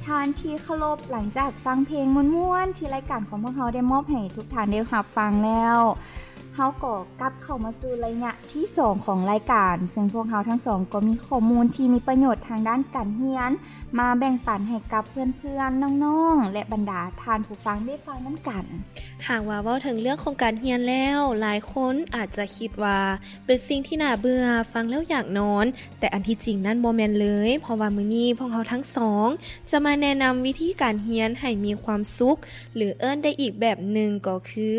ທ່ານທີ່ເຄົາລົບ, ຫຼັງຈາກຟັງເພງມ່ວນໆ ທີ່ລາຍການຂອງພວກເຮົາໄດ້ມອບໃຫ້ທຸກທ່ານໄດ້ຮັບຟັງແລ້ວ, ເຮົາກໍກັບເຂົ້າມາສູ່ໄລຍະທີສອງຂອງລາຍການ, ເຊິ່ງພວກເຮົາທັງສອງກໍມີຂໍ້ມູນທີ່ມີປະໂຫຍດທາງດ້ານການຮຽນ ມາແບ່ງປັນໃຫ້ກັບເພື່ອນໆ, ນ້ອງໆ ແລະ ບັນດາທ່ານຜູ້ຟັງໄດ້ຟັງນຳກັນ. ຫາກວ່າເວົ້າເຖິງເລື່ອງຂອງການຮຽນແລ້ວ, ຫຼາຍຄົນອາດຈະຄິດວ່າເປັນສິ່ງທີ່ໜ້າເບື່ອ, ຟັງແລ້ວຢາກນອນ, ແຕ່ອັນທີ່ຈິງນັ້ນບໍ່ແມ່ນເລີຍ, ເພາະວ່າມື້ນີ້ພວກເຮົາທັງສອງຈະມາແນະນຳວິທີການຮຽນໃຫ້ມີຄວາມສຸກ, ຫຼື ເອີ້ນໄດ້ອີກແບບໜຶ່ງກໍຄື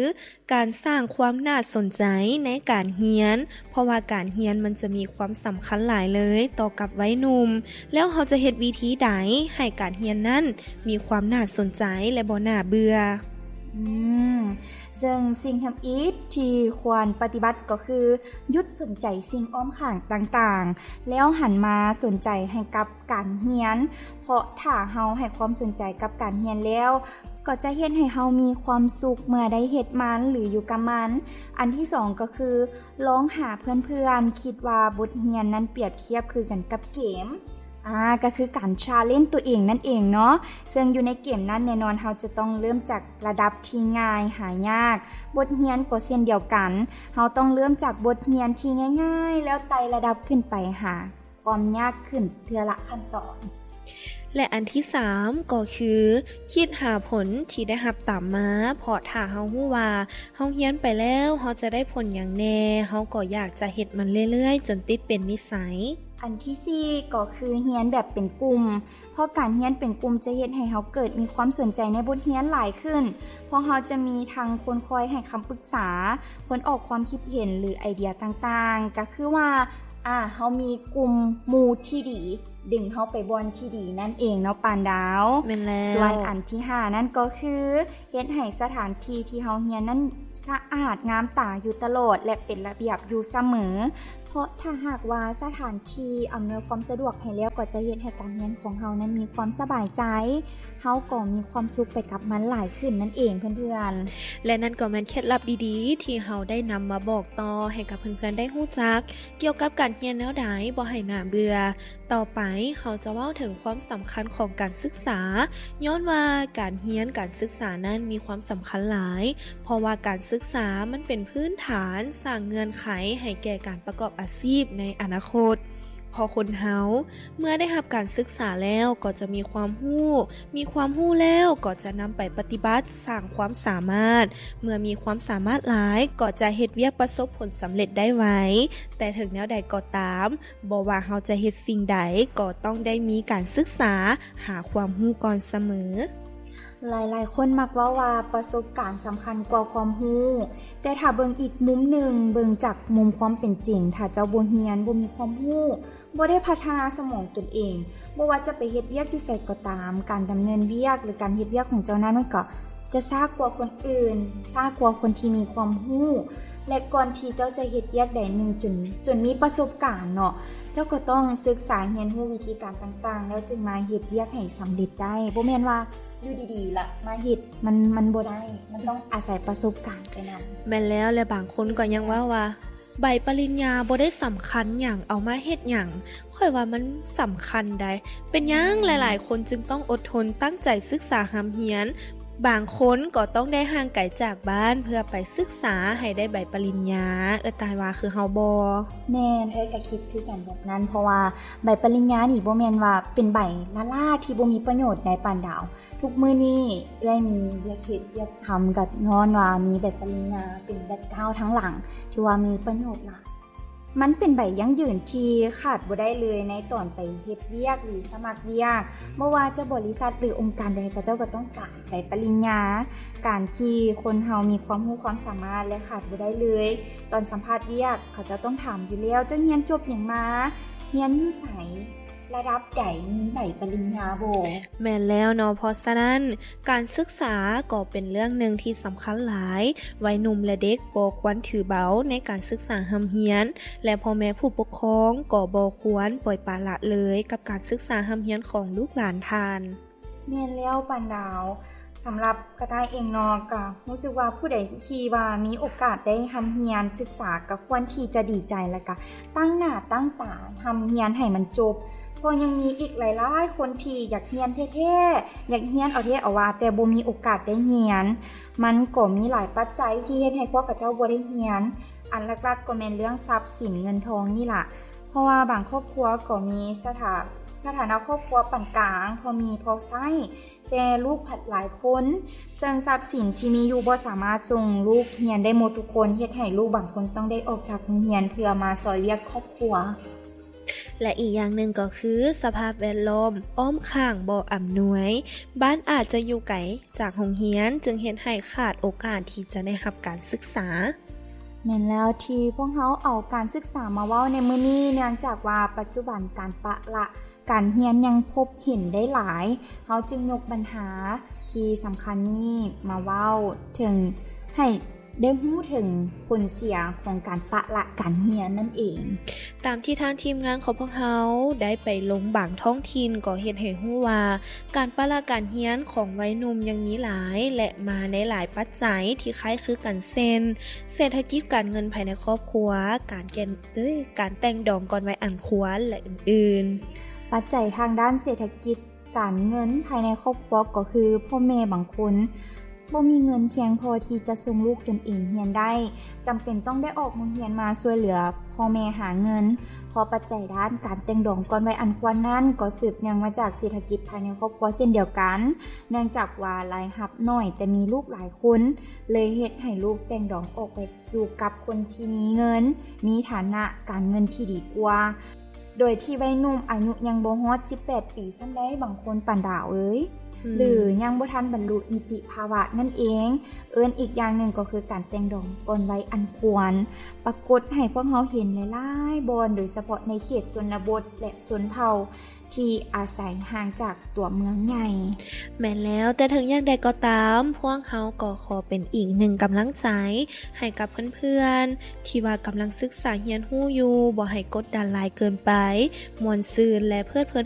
ການສ້າງຄວາມໜ້າສົນໃຈໃນການຮຽນ, ເພາະວ່າການຮຽນມັນຈະມີຄວາມສຳຄັນຫຼາຍເລີຍຕໍ່ກັບໄວໜຸ່ມ, ແລ້ວເຮົາຈະເຮັດວິທີໃດໃຫ້ການຮຽນນັ້ນມີຄວາມໜ້າສົນໃຈ ແລະ ບໍ່ໜ້າເບື່ອ? ອືມ, ເຊິ່ງສິ່ງທຳອິດທີ່ຄວນປະຕິບັດກໍຄື ຢຸດສົນໃຈສິ່ງອ້ອມຂ້າງຕ່າງໆ ແລ້ວຫັນມາສົນໃຈໃຫ້ກັບການຮຽນ, ເພາະຖ້າເຮົາໃຫ້ຄວາມສົນໃຈກັບການຮຽນແລ້ວ ກໍຈະເຮັດໃຫ້ເຮົາມີຄວາມສຸກເມື່ອໄດ້ເຮັດມັນ ຫຼື ຢູ່ກັບມັນ. ອັນທີສອງກໍຄື ລອງຫາເພື່ອນໆ, ຄິດວ່າບົດຮຽນນັ້ນປຽບທຽບຄືກັນກັບເກມ, ອາ, ກໍຄືການ challenge ຕົວເອງນັ້ນເອງເນາະ. ເຊິ່ງຢູ່ໃນເກມນັ້ນແນ່ນອນເຮົາຈະຕ້ອງເລີ່ມຈາກລະດັບທີ່ງ່າຍຫາຍາກ. ບົດຮຽນກໍເຊັ່ນດຽວກັນ, ເຮົາຕ້ອງເລີ່ມຈາກບົດຮຽນທີ່ງ່າຍໆ ແລ້ວໄຕ່ລະດັບຂຶ້ນໄປຫາຄວາມຍາກຂຶ້ນເທື່ອລະຂັ້ນຕອນ. ແລະ ອັນທີສາມກໍຄື ຄິດຫາຜົນທີ່ໄດ້ຮັບຕາມມາ, ເພາະຖ້າເຮົາຮູ້ວ່າເຮົາຮຽນໄປແລ້ວເຮົາຈະໄດ້ຜົນຫຍັງແດ່, ເຮົາກໍຢາກຈະເຮັດມັນເລື້ອຍໆ ຈົນຕິດເປັນນິໄສ. ອັນທີສີ່ກໍຄື ຮຽນແບບເປັນກຸ່ມ, ເພາະການຮຽນເປັນກຸ່ມຈະເຮັດໃຫ້ເຮົາເກີດມີຄວາມສົນໃຈໃນບົດຮຽນຫຼາຍຂຶ້ນ, ເພາະເຮົາຈະມີທັງຄົນຄອຍໃຫ້ຄຳປຶກສາ, ຄົນອອກຄວາມຄິດເຫັນ ຫຼື ໄອເດຍຕ່າງໆ, ກໍຄືວ່າ ອາ, ເຮົາມີກຸ່ມໝູ່ທີ່ດີ ດຶງເຮົາໄປບ່ອນທີ່ດີນັ້ນເອງເນາະ ປານດາວ. ແມ່ນແລ້ວ. ສ່ວນອັນທີຫ້ານັ້ນກໍຄື ເຮັດໃຫ້ສະຖານທີ່ທີ່ເຮົາຮຽນນັ້ນສະອາດງາມຕາຢູ່ຕະຫຼອດ ແລະ ເປັນລະບຽບຢູ່ສະເໝີ. ເພາະຖ້າຫາກວ່າສະຖານທີ່ອຳນວຍຄວາມສະດວກໃຫ້ແລ້ວ ກໍຈະເຮັດໃຫ້ການຮຽນຂອງເຮົານັ້ນມີຄວາມສະບາຍໃຈ, ເຮົາກໍມີຄວາມສຸກໄປກັບມັນຫຼາຍຂຶ້ນນັ້ນເອງເພື່ອນໆ. ແລະ ນັ້ນກໍແມ່ນເຄັດລັບດີໆ ທີ່ເຮົາໄດ້ນຳມາບອກຕໍ່ໃຫ້ກັບເພື່ອນໆໄດ້ຮູ້ຈັກ ກ່ຽວກັບການຮຽນແນວໃດບໍ່ໃຫ້ໜ້າເບື່ອ. ຕໍ່ໄປເຮົາຈະເວົ້າເຖິງຄວາມສຳຄັນຂອງການສຶກສາ, ຍ້ອນວ່າການຮຽນການສຶກສານັ້ນມີຄວາມສຳຄັນຫຼາຍ, ເພາະວ່າການສຶກສາມັນເປັນພື້ນຖານສ້າງເງື່ອນໄຂໃຫ້ແກ່ການປະກອບອາຊີບໃນອະນາຄົດ. ເພາະຄົນເຮົາເມື່ອໄດ້ຮັບການສຶກສາແລ້ວກໍຈະມີຄວາມຮູ້, ມີຄວາມຮູ້ແລ້ວກໍຈະນຳໄປປະຕິບັດ, ສ້າງຄວາມສາມາດ, ເມື່ອມີຄວາມສາມາດຫຼາຍກໍຈະເຮັດວຽກປະສົບຜົນສຳເລັດໄດ້ໄວ. ແຕ່ເຖິງແນວໃດກໍຕາມ, ບໍ່ວ່າເຮົາຈະເຮັດສິ່ງໃດ ກໍຕ້ອງໄດ້ມີການສຶກສາຫາຄວາມຮູ້ກ່ອນສະເໝີ. ຫຼາຍໆຄົນມັກເວົ້າວ່າປະສົບການສຳຄັນກວ່າຄວາມຮູ້, ແຕ່ຖ້າເບິ່ງອີກມຸມໜຶ່ງ, ເບິ່ງຈາກມຸມຄວາມເປັນຈິງ, ຖ້າເຈົ້າບໍ່ຮຽນ, ບໍ່ມີຄວາມຮູ້, ບໍ່ໄດ້ພັດທະນາສະໝອງຕົນເອງ, ບໍ່ວ່າຈະໄປເຮັດວຽກຢູ່ໃສກໍຕາມ, ການດຳເນີນວຽກ ຫຼື ການເຮັດວຽກຂອງເຈົ້ານັ້ນ ມັນກໍຈະຊ້າກວ່າຄົນອື່ນ, ຊ້າກວ່າຄົນທີ່ມີຄວາມຮູ້. ແລະ ກ່ອນທີ່ເຈົ້າຈະເຮັດວຽກໃດໜຶ່ງຈົນ, ຈົນມີປະສົບການເນາະ, ເຈົ້າກໍຕ້ອງສຶກສາຮຽນຮູ້ວິທີການຕ່າງໆ ແລ້ວຈຶ່ງມາເຮັດວຽກໃຫ້ສຳເລັດໄດ້. ບໍ່ແມ່ນວ່າຢູ່ດີໆລະມາເຮັດ, ມັນ, ມັນບໍ່ໄດ້, ມັນຕ້ອງອາໄສປະສົບການໄປນຳ. ແມ່ນແລ້ວ, ແລະ ບາງຄົນກໍຍັງເວົ້າວ່າ ໃບປະລິນຍາບໍ່ໄດ້ສຳຄັນຫຍັງ, ເອົາມາເຮັດຫຍັງ? ຂ້ອຍວ່າມັນສຳຄັນໃດ໋. ເປັນຫຍັງຫຼາຍໆຄົນຈຶ່ງຕ້ອງອົດທົນຕັ້ງໃຈສຶກສາຮ່ຳຮຽນ? ບາງຄົນກໍຕ້ອງໄດ້ຫ່າງໄກຈາກບ້ານເພື່ອໄປສຶກສາໃຫ້ໄດ້ໃບປະລິນຍາ. ເອື້ອຍຕ່າຍວ່າຄືເຮົາບໍ່? ແມ່ນ, ເອື້ອຍກໍຄິດຄືກັນແບບນັ້ນ, ເພາະວ່າໃບປະລິນຍານີ້ບໍ່ແມ່ນວ່າເປັນໃບລ້າໆທີ່ບໍ່ມີປະໂຫຍດໃດ໋ ປານດາວ. ທຸກມື້ນີ້ເອື້ອຍມີວຽກເຮັດວຽກທຳ ກໍຍ້ອນວ່າມີໃບປະລິນຍາເປັນແບັກກຣາວທາງຫຼັງ ຖືວ່າມີປະໂຫຍດຫຼາຍ. ມັນເປັນໃບຢັ້ງຢືນທີ່ຂາດບໍ່ໄດ້ເລີຍໃນຕອນໄປເຮັດວຽກ ຫຼື ສະໝັກວຽກ. ບໍ່ວ່າຈະບໍລິສັດ ຫຼື ອົງການໃດ, ເຂົາເຈົ້າກໍຕ້ອງການໃບປະລິນຍາ. ການທີ່ຄົນເຮົາມີຄວາມຮູ້ຄວາມສາມາດ ແລະ ຂາດບໍ່ໄດ້ເລີຍ ຕອນສຳພາດວຽກ, ເຂົາເຈົ້າຕ້ອງຖາມຢູ່ແລ້ວ, ເຈົ້າຮຽນຈົບຫຍັງມາ? ຮຽນຢູ່ໃສ? ລະດັບໃດ? ມີໃບປະລິນຍາບໍ່? ແມ່ນແລ້ວເນາະ, ເພາະສະນັ້ນ ການສຶກສາກໍເປັນເລື່ອງໜຶ່ງທີ່ສຳຄັນຫຼາຍ. ໄວໜຸ່ມ ແລະ ເດັກບໍ່ຄວນຖືເບົາໃນການສຶກສາຮ່ຳຮຽນ ແລະ ພໍ່ແມ່ຜູ້ປົກຄອງກໍບໍ່ຄວນປ່ອຍປະລະເລີຍກັບການສຶກສາຮ່ຳຮຽນຂອງລູກຫຼານທ່ານ. ແມ່ນແລ້ວ ປານດາວ. ສຳລັບກະຕ່າຍເອງເນາະ ກະຮູ້ສຶກວ່າຜູ້ໃດທີ່ວ່າມີໂອກາດໄດ້ຮ່ຳຮຽນສຶກສາ ກະຄວນທີ່ຈະດີໃຈ ແລະ ກະຕັ້ງໜ້າຕັ້ງຕາຮ່ຳຮຽນໃຫ້ມັນຈົບ. ເພາະຍັງມີອີກຫຼາຍໆຄົນທີ່ຢາກຮຽນແທ້ໆ ຢາກຮຽນເອົາແທ້ເອົາວ່າ ແຕ່ບໍ່ມີໂອກາດໄດ້ຮຽນ. ມັນກໍມີຫຼາຍປັດໄຈທີ່ເຮັດໃຫ້ພວກເຂົາເຈົ້າບໍ່ໄດ້ຮຽນ. ອັນຫຼັກໆກໍແມ່ນເລື່ອງຊັບສິນເງິນທອງນີ້ລະ ເພາະວ່າບາງຄອບຄົວກໍມີສະຖາ ສະຖານະຄອບຄົວປານກາງ ພໍມີພໍໃຊ້ ແຕ່ລູກພັດຫຼາຍຄົນ ເຊິ່ງຊັບສິນທີ່ມີຢູ່ບໍ່ສາມາດສົ່ງລູກຮຽນໄດ້ໝົດທຸກຄົນ ເຮັດໃຫ້ລູກບາງຄົນຕ້ອງໄດ້ອອກຈາກໂຮງຮຽນເພື່ອມາຊ່ອຍວຽກຄອບຄົວ. ແລະ ອີກຢ່າງໜຶ່ງກໍຄືສະພາບແວດລ້ອມອ້ອມຂ້າງບໍ່ອຳນວຍ, ບ້ານອາດຈະຢູ່ໄກຈາກໂຮງຮຽນ ຈຶ່ງເຮັດໃຫ້ຂາດໂອກາດທີ່ຈະໄດ້ຮັບການສຶກສາ. ແມ່ນແລ້ວ ທີ່ພວກເຮົາເອົາການສຶກສາມາເວົ້າໃນມື້ນີ້ ເນື່ອງຈາກວ່າປັດຈຸບັນການປະລະການຮຽນຍັງພົບເຫັນໄດ້ຫຼາຍ, ເຮົາຈຶ່ງຍົກບັນຫາທີ່ສຳຄັນນີ້ມາເວົ້າເຖິງ ໃຫ້ໄດ້ຮູ້ເຖິງຜົນເສຍຂອງການປະລະການຮຽນນັ້ນເອງ. ຕາມທີ່ທາງທີມງານຂອງພວກເຮົາໄດ້ໄປລົງບາງທ້ອງຖິ່ນ ກໍເຮັດໃຫ້ຮູ້ວ່າ ການປະລະການຮຽນຂອງໄວໜຸ່ມຍັງມີຫຼາຍ ແລະ ມາໃນຫຼາຍປັດໄຈທີ່ຄ້າຍຄືກັນ ເຊັ່ນ ເສດຖະກິດການເງິນພາຍໃນຄອບຄົວ, ການແກ່ນ ເອີຍ ການແຕ່ງດອງກ່ອນໄວອັນຄວນ ແລະ ອື່ນໆ. ປັດໄຈທາງດ້ານເສດຖະກິດ ການເງິນພາຍໃນຄອບຄົວກໍຄື ພໍ່ແມ່ບາງຄົນບໍ່ມີເງິນພຽງພໍທີ່ຈະສົ່ງລູກຕົນເອງຮຽນໄດ້, ຈຳເປັນຕ້ອງໄດ້ອອກໂຮງຮຽນມາຊ່ວຍເຫຼືອພໍ່ແມ່ຫາເງິນ, ເພາະປັດໄຈດ້ານການແຕ່ງດອງກ່ອນໄວອັນຄວນນັ້ນ ກໍສືບເນື່ອງມາຈາກເສດຖະກິດພາຍໃນຄອບຄົວເຊັ່ນດຽວກັນ, ເນື່ອງຈາກວ່າລາຍຮັບໜ້ອຍແຕ່ມີລູກຫຼາຍຄົນ ເລີຍເຮັດໃຫ້ລູກແຕ່ງດອງອອກໄປຢູ່ກັບຄົນທີ່ມີເງິນ, ມີຖານະການເງິນທີ່ດີກວ່າ. ໂດຍທີ່ໄວໜຸ່ມອາຍຸຍັງບໍ່ຮອດສິບແປດປີຊ້ຳໃດ ບາງຄົນປານດາວເອີຍ ອືມ ຫຼືຍັງບໍ່ທັນບັນລຸນິຕິພາວະນັ້ນເອງ. ເອີ້ນອີກຢ່າງໜຶ່ງກໍຄືການແຕ່ງດອງກ່ອນໄວອັນຄວນ ປາກົດໃຫ້ພວກເຮົາເຫັນຫຼາຍໆບ່ອນ, ໂດຍສະເພາະໃນເຂດຊົນນະບົດ ແລະ ຊົນເຜົ່າທີ່ອາໄສຫ່າງຈາກຕົວເມືອງໃຫຍ່. ແມ່ນແລ້ວ, ແຕ່ເຖິງຢ່າງໃດກໍຕາມ, ພວກເຮົາກໍຂໍເປັນອີກໜຶ່ງກຳລັງໃຈໃຫ້ກັບເພື່ອນໆ ທີ່ວ່າກຳລັງສຶກສາຮຽນຮູ້ຢູ່, ບໍ່ໃຫ້ກົດດັນຫຼາຍເກີນໄປ, ມ່ວນຊື່ນ ແລະ ເພີດເພີນ